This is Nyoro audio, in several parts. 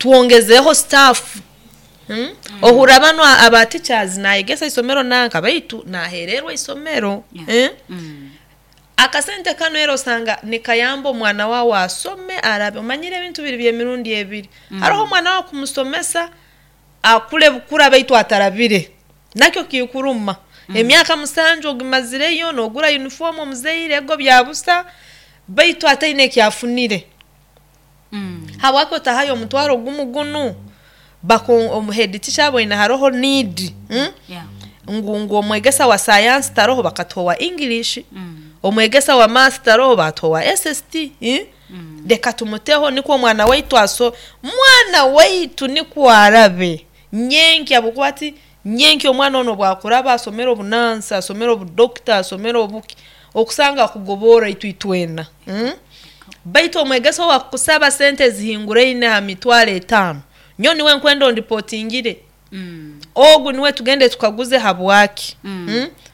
Twongezeho staff. Ohurra banu aba teachers nayegesa isomero nanka, baitu nahererwa isomero. Eh? Akasente kanu era osanga nikayamba omwana wawe asome, arabe. Omanyire ebintu biri by'emirundi ebiri. Haroho omwana wawe kumusomesa akule bukura, baitu atarabire, nakyo kikuruma. Emyaka 7 ogimazireyo nogura yunifoomu, omuzaire ego byabusa, baitu ataine eki afunire. Habwaki otahayo omutwaro gumu gunu omu head teacher aboine haroho need, Ngu omwegesa wa sayansi taroho, bakatuha owa English. Omwegesa wa math taroho, batuha owa SST. Leka tumuteho nikwo omwana waitu aso, mwana waitu nikwo arabe nyenkya, habwokuba ati nyenkya omwana onu obu akuraba asomere obunansi, asomere obudokita, asomere obuki, okusanga akugoborra itwe itwena. Baitu omwegesa owakukusaba sente ezihinguraine ha 50,000, nyowe niwe nkwenda ondipotingire. Ogu niwe tugende tukaguze habwaki.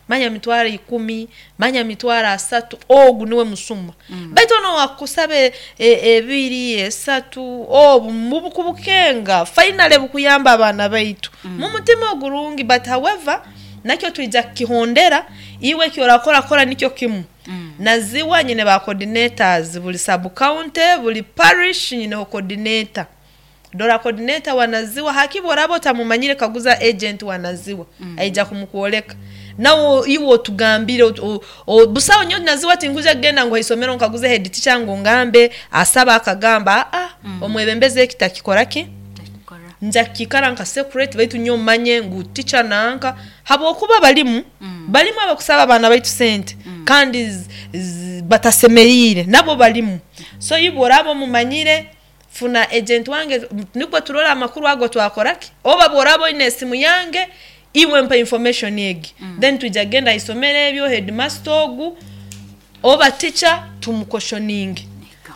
Manya 10,000, manya 30,000, ogu niwe musuma. Baitu onu owakukusaba ebiri, esatu, obu mubukubukenga finally bukuyamba abaana baitu mu mutima ogurungi. But however, nakyo twija kukihondera. Iwe eki orakora, kora nikyo kimu. Naziwa nyine ba coordinators buli sub county, buli parish nyineho coordinator. Dora coordinator wa Naziwa, hakiba oraba otamumanyire, kaguza agent wa Naziwa, aija kumukwoleka. Nawe iwe otugambire, busaho nyowe Naziwa tinkuja kugenda ngu haisomero nkaguze head teacher ngu ngambe asaba akagamba aa. Omwebembezi eki takikora ki? Nja kukikara nka secret, baitu nyowe manye ngu teacher nanka, habwokuba balimu abakusaba abaana baitu sente kandi batasemeriire, nabo balimu. So iwe oraba omumanyire, funa agent wange nikwo turole amakuru ago twakora ki, oba bworaba oine esimu yange, iwe mpa information egi. Then twija kugenda haisomero eryo, headmaster ogu oba teacher tumukoshoninge.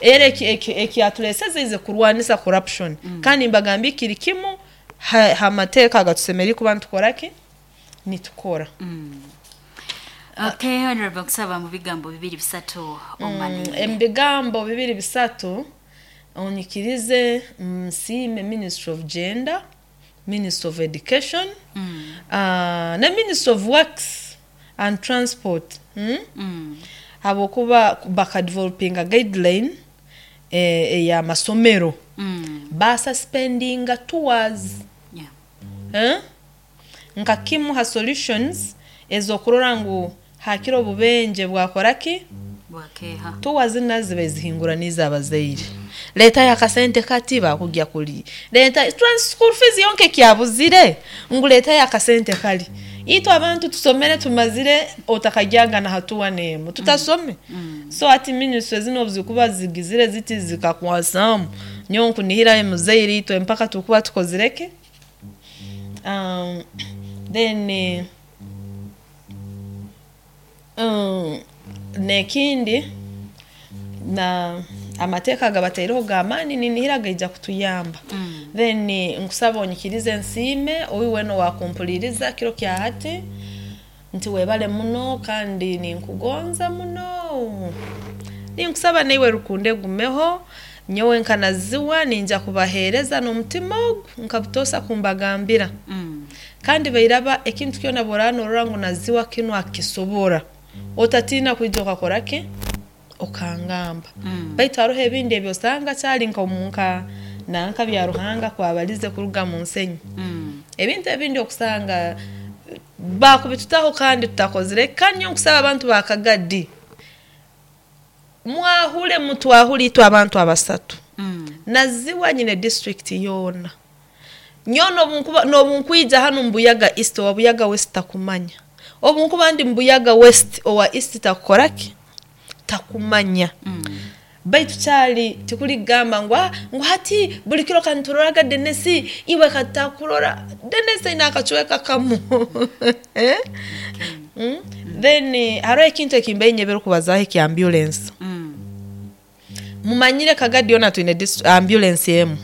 Era ekyatureseze ize kurwanisa corruption. Kandi mbagambire kiri kimu ha mateeka agatusemeriire kuba nitukora ki? Nitukora. Okay, Honorable, nkusaba mu bigambo bibiri bisatu omalire. Emu bigambo bibiri bisatu, onyikirize nsiime Ministry of Gender, Ministry of Education, na Ministry of Works and Transport, Habwokuba bakadevelopinga guideline ey'amasomero, basuspendinga tours. Eh? Nka kimu ha solutions ez'okurora ngu hakira obubenje bwakora ki? Bwakeha. Tours nazo ziba zihinguraniize abazaire. Leetayo akasente kati bakugya kuli. Leeta school fees yonka ekyabuzire, ngu leetayo akasente kali. Itwe abantu tusomere tumazire, otakagyaga na hatuwa n'emu tutasome. So hati ministry zinu obu zikuba zigizire ziti zikakwasaamu, nyowe nkunihira muzaire itwe mpaka tukuba tukozire ki? Then n'ekindi na amateeka agabataireho g'amaani, ninihira gaija kutuyamba. Then nkusaba onyikirize nsiime oyu weena owakumpuliriza kiro kya hati, nti webale muno kandi ninkugonza muno. Ninkusaba naiwe rukundo egumeho. Nyowe nka Naziwa ninja kubaheereza n'omutima ogu nka butoosa kumbagambira. Kandi bairaba ekintu kyona bworaba norora ngu Naziwa kinu akisobora, otatiina kwija okakora ki? Okangamba. Baitu haroho ebindi ebi osanga kyali nka omunka nanka bya Ruhanga kwabalize kuruga mu nsenyi. Ebintu ebindi okusanga bakubitutaho kandi tutakozire. Kandi nyowe nkusaba abantu ba Kagadi, mwahule mutwahule itwe abantu abasatu. Naziwa nyine district yoona. Nyowe n'obu nkwija hanu mu Buyaga East, owa Buyaga West takumanya. Obu nkuba ndi mu Buyaga West, owa East takukora ki? Takumanya. Baitu kyali tikuli kugamba ngu hati buli kiro kanituroraga Denesi, iwe katakurora. Denesi aine akacweka kamu. Eh? Then haroho ekintu ekimbaire nyebere kubazaaho ekya ambulance. Mumanyire Kagadi yoona twine ambulance emu.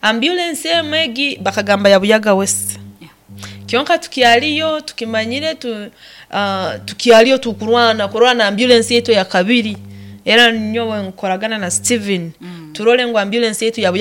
Ambulance emu egi bakagamba ya Buyaga West. Kyonka tukyaliyo tukimanyire tukyaliyo tukurwana kurora na ambulance yaitu eya kabiri. Era nyowe nkoragana na Steven turole ngu ambulance yaitu ya Buyaga.